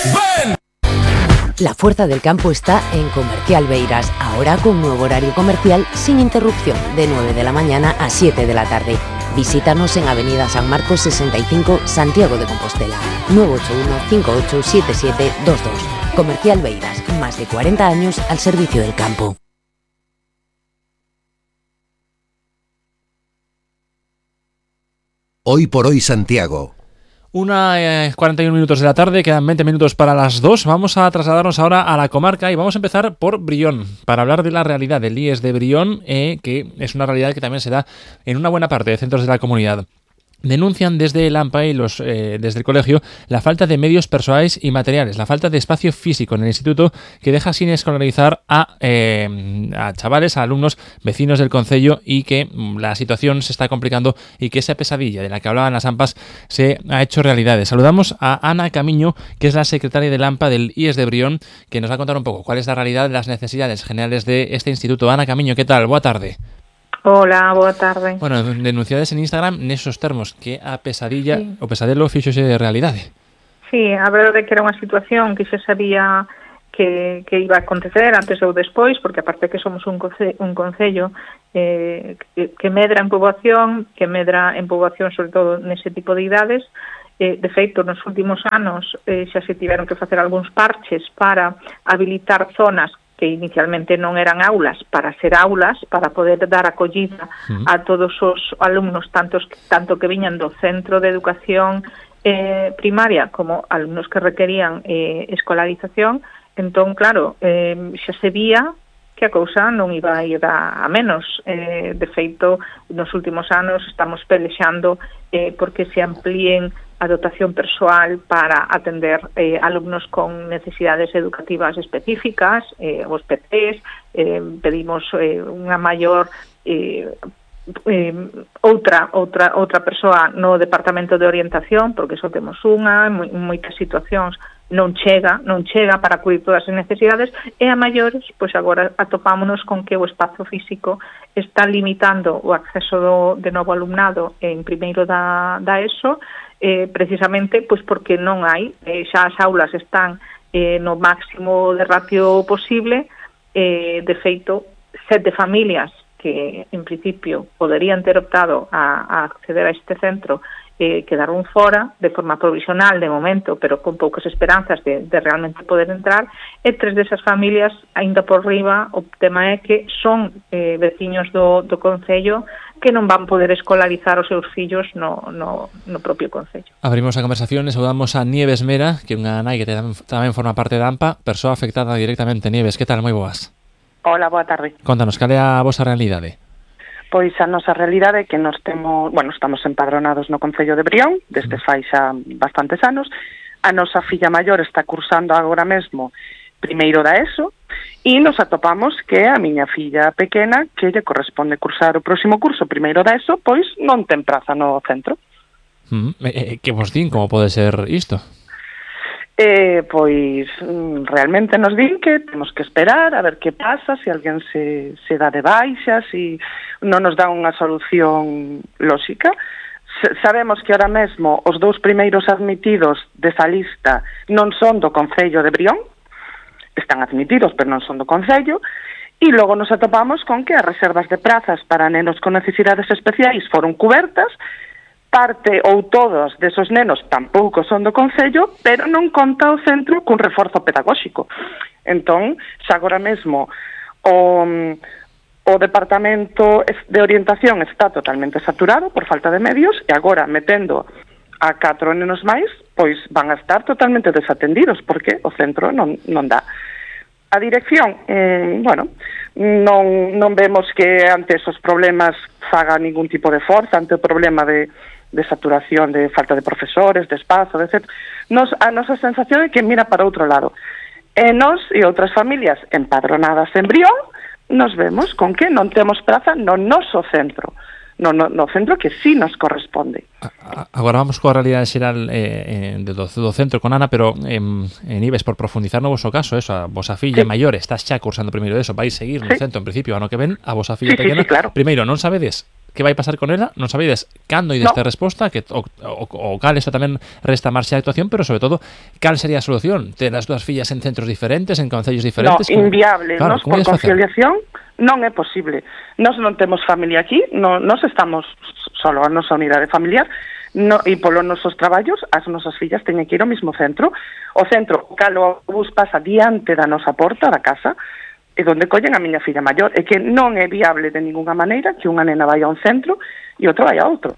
¡Ven! La fuerza del campo está en Comercial Beiras, ahora con nuevo horario comercial sin interrupción, de 9 de la mañana a 7 de la tarde. Visítanos en Avenida San Marcos 65, Santiago de Compostela. 981-587722. Comercial Beiras, más de 40 años al servicio del campo. Hoy por hoy Santiago. 41 minutos de la tarde, quedan 20 minutos para las 2. Vamos a trasladarnos ahora a la comarca y vamos a empezar por Brión, para hablar de la realidad del IES de Brión, que es una realidad que también se da en una buena parte de centros de la comunidad. Denuncian desde el AMPA y desde el colegio la falta de medios personales y materiales, la falta de espacio físico en el instituto, que deja sin escolarizar a chavales, a alumnos vecinos del concello, y que la situación se está complicando y que esa pesadilla de la que hablaban las AMPAs se ha hecho realidad. Saludamos a Ana Camiño, que es la secretaria del AMPA del IES de Brión, que nos va a contar un poco cuál es la realidad de las necesidades generales de este instituto. Ana Camiño, ¿qué tal? Boa tarde. Hola, boa tarde. Bueno, denunciades en Instagram nesos termos que a pesadilla o pesadelo fíxose de realidade. Sí, a verdade é que era unha situación que xa sabía que iba a acontecer antes ou despois, porque aparte que somos un concello que medra en poboación sobre todo nese tipo de idades. De feito, nos últimos anos xa se tiveron que facer algúns parches para habilitar zonas que inicialmente non eran aulas, para ser aulas, para poder dar acollida a todos os alumnos, tanto que viñan do centro de educación primaria como alumnos que requerían escolarización. Entón, claro, xa se vía que a cousa non iba a ir a menos. De feito, nos últimos anos estamos pelexando porque se amplíen a dotación persoal para atender alumnos con necesidades educativas específicas, os PCs, pedimos unha maior outra persoa no departamento de orientación, porque só temos unha, en moitas situacións non chega para cubrir todas as necesidades, e a maiores, pois agora atopámonos con que o espazo físico está limitando o acceso de novo alumnado en primeiro da ESO, precisamente pois porque non hai, xa as aulas están no máximo de ratio posible. De feito, 7 familias que en principio poderían ter optado a acceder a este centro quedaron fora de forma provisional de momento, pero con poucas esperanzas de realmente poder entrar, e 3 desas familias, aínda por riba, o tema é que son veciños do concello que non van poder escolarizar os seus fillos no propio concello. Abrimos a conversación e saudamos a Nieves Mera, que é unha nai que tamén forma parte da AMPA, persoa afectada directamente. Nieves, que tal? Moi boas. Hola, boa tarde. Contanos, cal é a vosa realidade? Pois a nosa realidade é que estamos empadronados no concello de Brión desde fai xa bastantes anos. A nosa filla maior está cursando agora mesmo primeiro da ESO e nos atopamos que a miña filla pequena, que lle corresponde cursar o próximo curso primeiro da ESO, pois non ten praza no centro. Que vos din como pode ser isto? Pois realmente nos din que temos que esperar a ver que pasa, se alguén se dá de baixa, se non nos dá unha solución lóxica. Sabemos que ahora mesmo os 2 primeiros admitidos desa lista non son do concello de Brión, están admitidos pero non son do concello, e logo nos atopamos con que as reservas de prazas para nenos con necesidades especiais foron cubertas. Parte ou todos desos nenos tampouco son do concello, pero non conta o centro cun reforzo pedagóxico. Entón, xa agora mesmo o departamento de orientación está totalmente saturado por falta de medios, e agora metendo a 4 nenos máis, pois van a estar totalmente desatendidos porque o centro non dá. A dirección, non vemos que ante esos problemas faga ningún tipo de forza, ante o problema de saturación, de falta de profesores, de espazo, etc. A nosa sensación é que mira para outro lado. E nós e outras familias empadronadas en Brión nos vemos con que non temos praza no noso centro. No centro que sí nos corresponde. Agora vamos coa realidade xeral do centro con Ana, pero en Ives, por profundizar no vosso caso, eso, a vosa filla maior está xa cursando primeiro eso, vai seguir no centro en principio ano que ven, a vosa filla pequena. Claro. Primeiro, non sabedes que vai pasar con ela, non sabedes cando ides ter resposta, que o cal isto tamén resta marxa de actuación, pero sobre todo, cal sería a solución? Ter as dúas fillas en centros diferentes, en concellos diferentes? No, inviable, claro, por conciliación non é posible. Nós non temos familia aquí, nós estamos solo a nosa unidade familiar, e polos nosos traballos as nosas fillas teñen que ir ao mesmo centro. O centro, cal o bus pasa diante da nosa porta da casa, e onde collen a miña filla maior, é que non é viable de ninguna maneira que unha nena vai a un centro e outra vai a outro.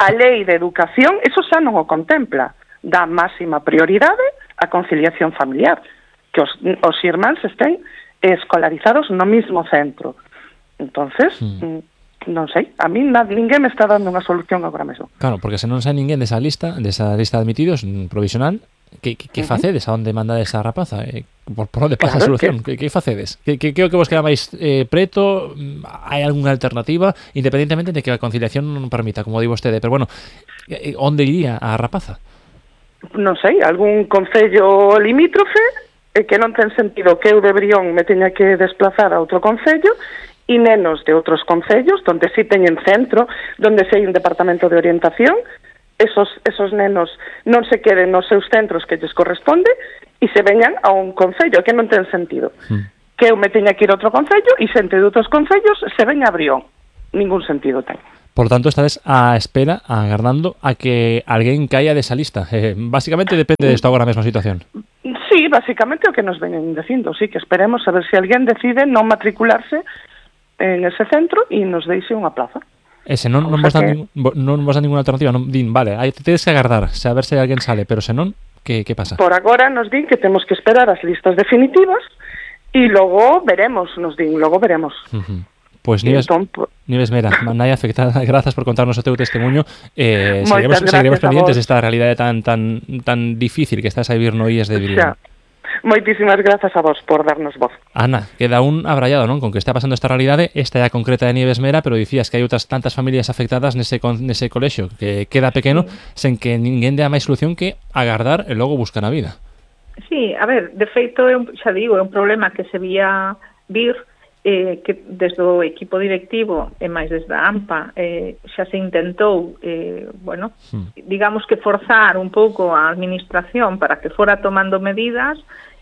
A lei de educación, eso xa non o contempla, dá máxima prioridade á conciliación familiar, que os irmáns estén escolarizados no mismo centro. Entonces, non sei, a mí ninguén me está dando unha solución agora mesmo. Claro, porque se non sai ninguén desa lista de admitidos provisional, que facedes? A onde mandades a rapaza? Por onde pasa a solución? Que facedes? Que o que vos queda máis preto? Hai algunha alternativa? Independentemente de que a conciliación non permita, como di vostede, pero bueno, onde iría a rapaza? Non sei, algún concello limítrofe, que non ten sentido que eu de Brión me teña que desplazar a outro concello, e nenos de outros concellos, donde sí teñen centro, donde sí hai un departamento de orientación, esos nenos non se queden nos seus centros que lles corresponde e se veñan a un concello, que non ten sentido. Que eu me teña que ir a outro concello e xente de outros concellos se veña a Brión. Ningún sentido ten. Por tanto, estades á espera, agardando a que alguén caia desa lista. Básicamente depende disto agora mesma situación. Sí, básicamente o que nos veñen dicindo, sí, que esperemos a ver se alguén decide non matricularse en ese centro e nos deixe unha plaza. E se non vos dan ninguna alternativa, non din, vale, aí tedes que agardar, a ver se alguén sale, pero se non, que pasa? Por agora nos din que temos que esperar as listas definitivas e logo veremos, nos din, logo veremos. Pois Nieves Mera, nai afectada, grazas por contarnos o teu testemunho. Seguiremos pendientes desta realidade tan difícil que estás a vivir no IES de Brión. Moitísimas grazas a vos por darnos voz. Ana, queda un abrallado, non? Con que está pasando esta realidade, esta é a concreta de Nieves Mera, pero dicías que hai outras tantas familias afectadas nese colexio que queda pequeno, sen que ninguén dea máis solución que agardar e logo buscar a vida. Sí, a ver, de feito, xa digo, é un problema que se vía vir, que desde o equipo directivo e máis desde a AMPA xa se intentou digamos que forzar un pouco a administración para que fora tomando medidas,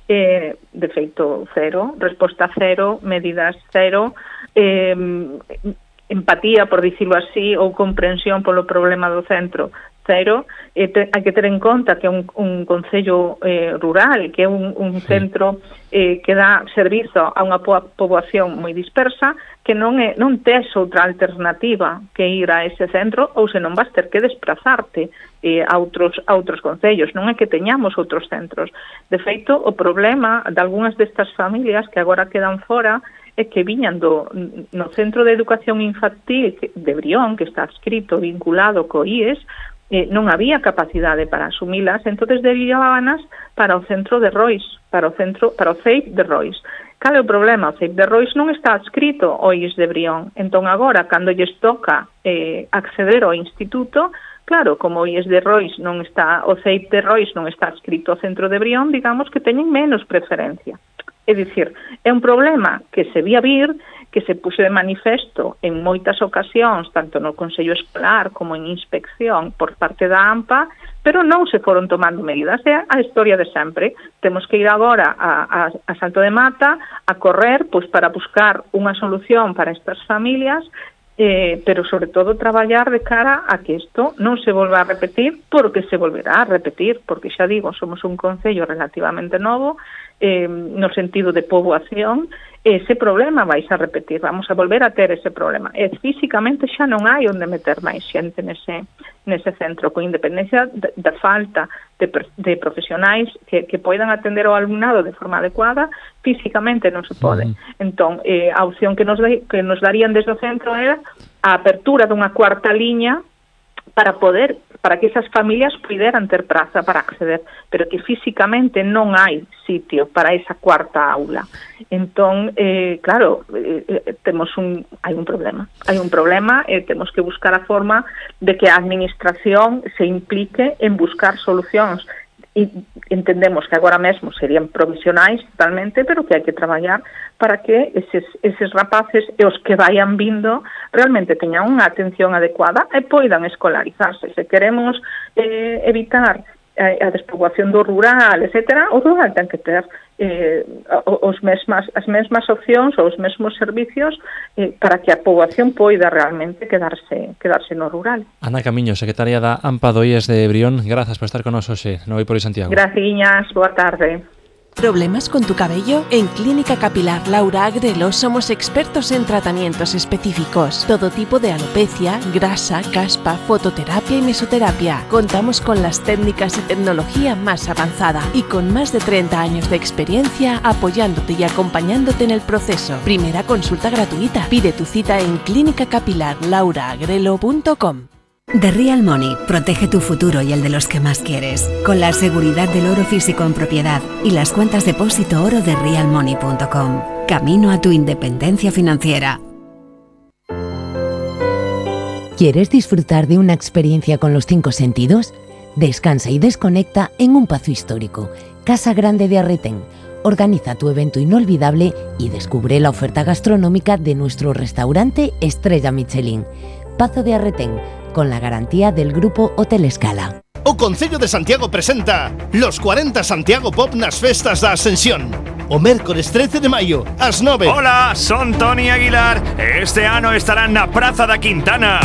de feito cero, resposta cero, medidas cero, empatía, por dicirlo así, ou comprensión polo problema do centro cero. Hai que ter en conta que é un concello rural, que é un centro que dá servizo a unha poboación moi dispersa, que non tes outra alternativa que ir a ese centro, ou senón vas ter que desplazarte a outros concellos. Non é que teñamos outros centros. De feito, o problema de algunhas destas familias que agora quedan fora é que viñan no Centro de Educación Infantil de Brión, que está adscrito, vinculado co IES, non había capacidade para asumilas, entonces derivábanas para o centro de Rois, para o CEIP de Rois. Cal é o problema? O CEIP de Rois non está adscrito ao IES de Brión, entón agora, cando lles toca acceder ao instituto, claro, como o IES de Rois non está, o CEIP de Rois non está adscrito ao centro de Brión, digamos que teñen menos preferencia. É dicir, é un problema que se vía vir, que se puxe de manifesto en moitas ocasións, tanto no Consello Escolar como en inspección por parte da AMPA, pero non se foron tomando medidas. É a historia de sempre. Temos que ir agora a Salto de Mata a correr pois para buscar unha solución para estas familias, pero sobre todo traballar de cara a que isto non se volva a repetir, porque se volverá a repetir, porque xa digo, somos un concello relativamente novo, no sentido de poboación, ese problema vais a repetir, vamos a volver a ter ese problema. Físicamente xa non hai onde meter máis xente nese centro, con independencia da falta de profesionais que poidan atender ao alumnado de forma adecuada, físicamente non se pode. Entón, a opción que nos darían desde o centro era a apertura dunha cuarta liña para que esas familias puderan ter praza para acceder, pero que físicamente non hai sitio para esa cuarta aula. Entón, claro, hai un problema, temos que buscar a forma de que a administración se implique en buscar solucións e entendemos que agora mesmo serían provisionais totalmente, pero que hai que traballar para que eses rapaces e os que vayan vindo realmente teñan unha atención adecuada e poidan escolarizarse. Se queremos evitar a despoboación do rural, etcétera, o rural ten que ter as mesmas opcións ou os mesmos servicios para que a poboación poida realmente quedarse no rural. Ana Camiño, secretaria da AMPA do IES de Brión, grazas por estar con nos hoxe no Hoy por Hoy Santiago. Graciñas, boa tarde. ¿Problemas con tu cabello? En Clínica Capilar Laura Agrelo somos expertos en tratamientos específicos. Todo tipo de alopecia, grasa, caspa, fototerapia y mesoterapia. Contamos con las técnicas y tecnología más avanzada y con más de 30 años de experiencia apoyándote y acompañándote en el proceso. Primera consulta gratuita. Pide tu cita en clinicacapilarlauraagrelo.com. The Real Money protege tu futuro y el de los que más quieres, con la seguridad del oro físico en propiedad y las cuentas depósito oro de realmoney.com. Camino a tu independencia financiera. ¿Quieres disfrutar de una experiencia con los 5 sentidos? Descansa y desconecta en un Pazo histórico, Casa Grande de Arretén. Organiza tu evento inolvidable y descubre la oferta gastronómica de nuestro restaurante Estrella Michelin. Pazo de Arretén, con la garantía del Grupo Hotel Escala. O Concello de Santiago presenta los 40 Santiago Pop nas festas da Ascensión. O mércores 13 de maio, ás 9. Hola, son Toni Aguilar. Este ano estarán na Praza da Quintana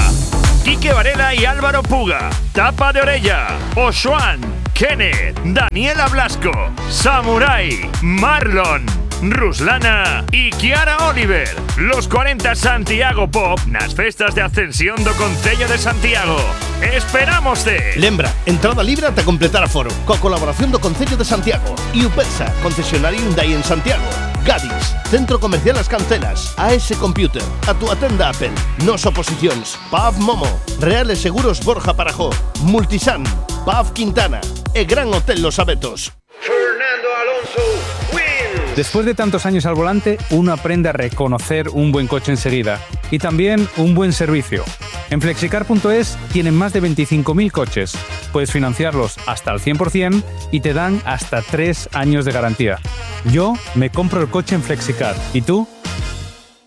Quique Varela y Álvaro Puga, Tapa de Orella, Oxuan, Kenneth, Daniela Blasco, Samurai, Marlon, Ruslana y Kiara Oliver. Los 40 Santiago Pop nas festas de Ascensión do Concello de Santiago. ¡Esperámoste! Lembra, entrada libre ata completar aforo, coa colaboración do Concello de Santiago e UPESA, concesionario Hyundai en Santiago. Gadis, Centro Comercial As Cancelas, AS Computer, a túa tenda Apple, Nos Oposicións, PAV Momo, Reales Seguros Borja Parajó, Multisan, PAV Quintana e Gran Hotel Los Abetos. Fernando Alonso wins. Después de tantos años al volante, uno aprende a reconocer un buen coche enseguida y también un buen servicio. En Flexicar.es tienen más de 25.000 coches. Puedes financiarlos hasta al 100% y te dan hasta 3 años de garantía. Yo me compro el coche en Flexicar. ¿Y tú?